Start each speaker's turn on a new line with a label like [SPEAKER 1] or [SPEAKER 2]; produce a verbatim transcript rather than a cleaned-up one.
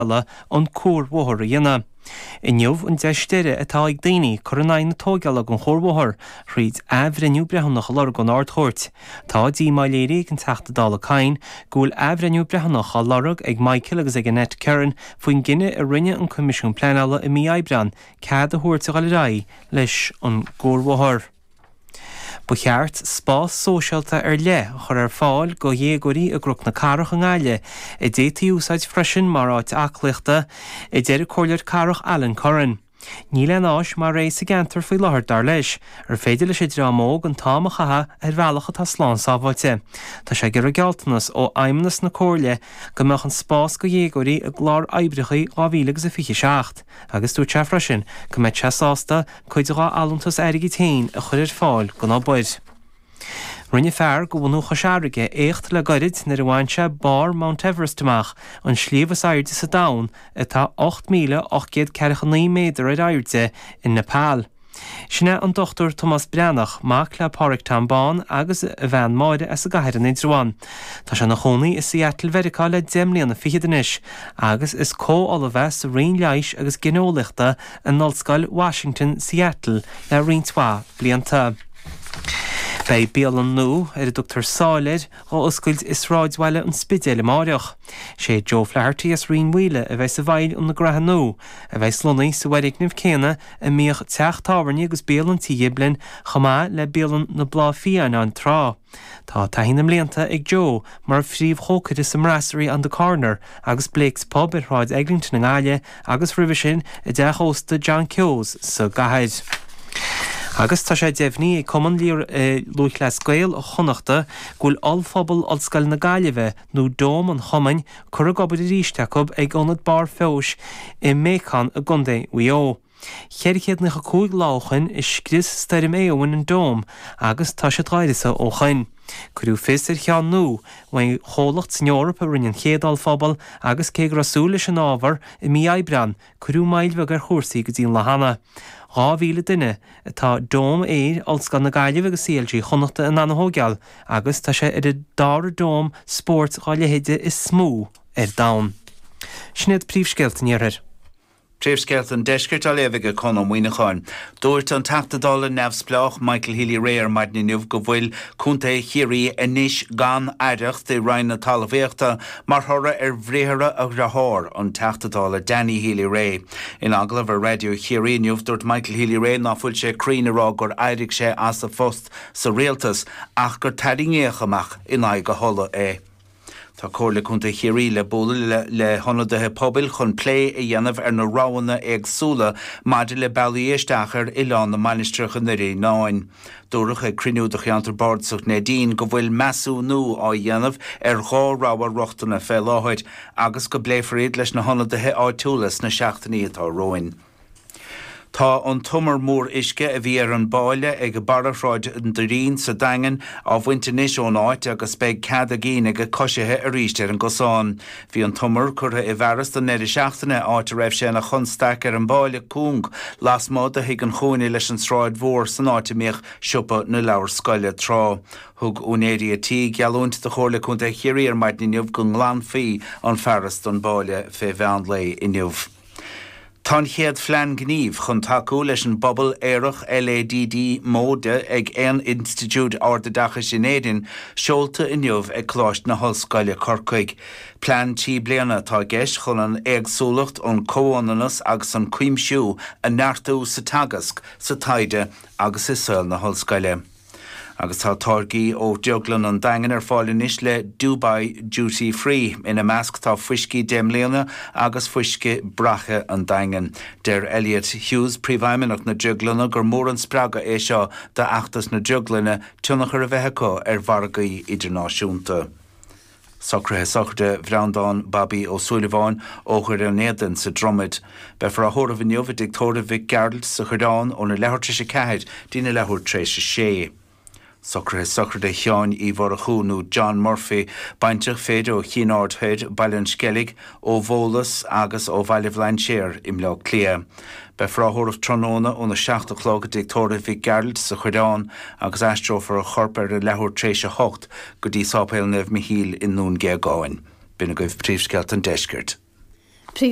[SPEAKER 1] an cuarbhóthar a dhéanamh. Inniu an deis deiridh atá ag daoine cur in aghaidh na tógála den chuarbhóthar, thríd athbhreithniú breithiúnach a lorg ón Ard-Chúirt. Tá díomá léirithe ag an Teachta Dála Kyne go bhfuil athbhreithniú breithiúnach á lorg ag Michael agus ag Annette Curran faoin gcinneadh a rinne an Coimisiún Pleanála i mí Aibreáin cead a thabhairt a dhul ar aghaidh leis an gcuarbhóthar. Ba cheart spás sóisialta ar leith a chur ar fáil do dhéagóirí i gCnoc na Cathrach i nGaillimh, a d'fhéadfaí a úsáid freisin mar áit aclaíochta, a deir an Comhairleoir Cathrach Alan Curran. Níl aon áis mar é sa gceantar faoi láthair dar leis, ar féidir leis an dream óg an t-am a chaitheamh ar bhealach atá slán sábháilte. Tá sé ag iarraidh gealltanas ó fheidhmeannas na Comhairle go mbeadh an spás do dhéagóirí i gclár oibreacha dhá mhíle agus a fiche seacht, agus dúirt sé freisin go mbeadh sé sásta cuid dá allúntas airgid féin a chur ar fáil don obair. Rinne fear de bhunadh Chois Fharraige éacht le gairid nuair a bhain sé barr Mount Everest amach, an sliabh is airde sa domhan atá ocht míle ocht gcéad ceathracha naoi méadar ar airde i Nepal. Sin é an Dochtúir Tomás Breathnach, mac le Pádraig Tom Bán agus a bhean Máire as an gCathair in Indreabhán. Tá sé ina chónaí i Seattle Mheiriceá le deich mbliana fichead anois agus is comh-ollamh é sa Roinn Leighis agus Gineolaíochta in Ollscoil Washington, Seattle le roinnt mhaith blianta. Beidh bialann nua, ar a dtugtar Sáile air, á oscailt i sráidbhaile an Spidéil amáireach. Sé Joe Flaherty as Rinn Mhaoile a bheidh i bhfeighil an ghraithe nua, a bheidh lonnaithe sa bhfoirgneamh céanna a mbíodh teach tábhairne agus bialann Tí Ghiblin chomh maith le bialann na Bláth Fiáin ann tráth. Tá taithí na mblianta ag Joe mar phríomhchócaire sa mBrasserie on the Corner agus Blake's Pub ar Shráid Eglinton i nGaillimh agus roimhe sin i dteach ósta John Keogh's sa gcathair. Agus tá sé deimhnithe ag Cumann Lúthchleas Gael Chonnachta go bhfuil Ollphuball Ollscoil na Gaillimhe, nó Dome an Chumainn, curtha ag obair arís acu ag Ionad Barr Feabhais i mBéacán i gContae Mhaigh Eo. Ceithre chéad nócha cúig lá ó shoin a scrios Stoirm Éowyn an Dome agus tá siad dhá uireasa ó shoin. Cuireadh fios ar cheann nua uaidh chomhlacht san Eoraip a rinne an chéad ollphuball agus cé go raibh súil leis an ábhar i mí Aibreán, cuireadh moill bheag ar chúrsaí go dtí an lá cheana. Dhá mhíle duine atá Dome Aeir Ollscoil na Gaillimhe agus C L G Chonnachta in ann a thógáil agus tá sé ar an dara dome spóirt dá leithéide is mó ar domhan. Sin iad príomhscéalta an Iarthair.
[SPEAKER 2] Príomhscéalta an Deiscirt á léamh ag Conn Ó Muíneacháin. Dúirt an Teachta Dála neamhspleách Michael Healy-Rae ar maidin inniu go bhfuil Contae Chiarraí anois gan aireacht i Roinn na Talmhaíochta mar thoradh ar bhriathra a dhearthár, an Teachta Dála Danny Healy-Rae. In agallamh ar Raidió Chiarraí inniu, dúirt Michael Healy-Rae ná fuil sé cruinn a rá gur éirigh sé as a phost sa rialtas ach gur tarraingíodh amach in aghaidh a thola é. Tá Comhairle Contae Chiarraí le bualadh le hionadaithe pobail chun plé a dhéanamh ar na roghanna éagsúla maidir le bealaí isteach ar Oileán na Mainistreach i nDoire Fhíonáin. Dúradh ag cruinniú de cheantar bardasach Neidín go bhfuil measúnú á dhéanamh ar dhá rogha rochtana fé láthair agus go bpléifear iad leis na hionadaithe áitiúla sna seachtainí atá romhainn. Tá an t-umar mór uisce a bhí ar an bpáile ag barra Shráid an Doirín sa Daingean á bhaint anois ón áit agus beidh cead ag aoinne ag coisithe arís ar an gcosán. Bhí an t-umar curtha i bhfearas don deireadh seachtaine, áit a raibh sé ina chonstaic ar an bpáile cúng lasmuigh de Thigh an Chúinne leis an Sráid Mhór san áit a mbíodh siopa na leabhar scoile tráth. Thug úinéirí a tí geallúint do Chomhairle Contae Chiarraí ar maidin inniu go nglanfaí an fearas don bpáile fé mheán lae inniu. Tá an chéad phlean gnímh chun tacú leis an bpobal aerach L A D D móide ag aon institiúid ardoideachais in Éirinn seolta inniu ag Coláiste na hOllscoile Corcaigh. Plean trí bliana atá i gceist chun an éagsúlacht, an comhionannas agus an cuimsiú a neartú sa teagasc, sa taighde agus i saol na hollscoile. Agus tá táirgí ó Drioglann an Daingin ar fáil anois le Dubai Duty Free. Ina measc tá fuiscí deich mbliana agus fuisce braiche an Daingin. Deir Elliot Hughes, príomhfheidhmeannach na Drioglainne, gur mór an spreagadh é seo d'fheachtas na Drioglainne tionchar a bheith acu ar mhargaí idirnáisiúnta. Socruithe sochraide Bhreandán Bobby Ó Súilleabháin ó Dhoire an Éadain sa Dromaid. Beifear á thórramh inniu i dtigh tórraimh Mhic Gearailt sa Choireán óna leathuair tar éis a ceathair dtína leathuair tar éis a sé. Socruithe sochraide Sheáin Uí Mhurchú nó John Murphy, baintreach fir ó Chinn Aird Thoir, Baile an Sceilg, ó Bhólas agus ó Bhaile Bhlainséir i mBleá Cliath. Beifear á thórramh tráthnóna óna seacht a chlog i dtigh tórraimh Mhic Gearailt sa Choireán agus aistreofar a chorp ar a leathuair tar éis a hocht go dtí Sáipéal Naomh Michíl i nDún Géagáin. B'in agaibh príomhscéalta an Deiscirt.
[SPEAKER 3] Príomh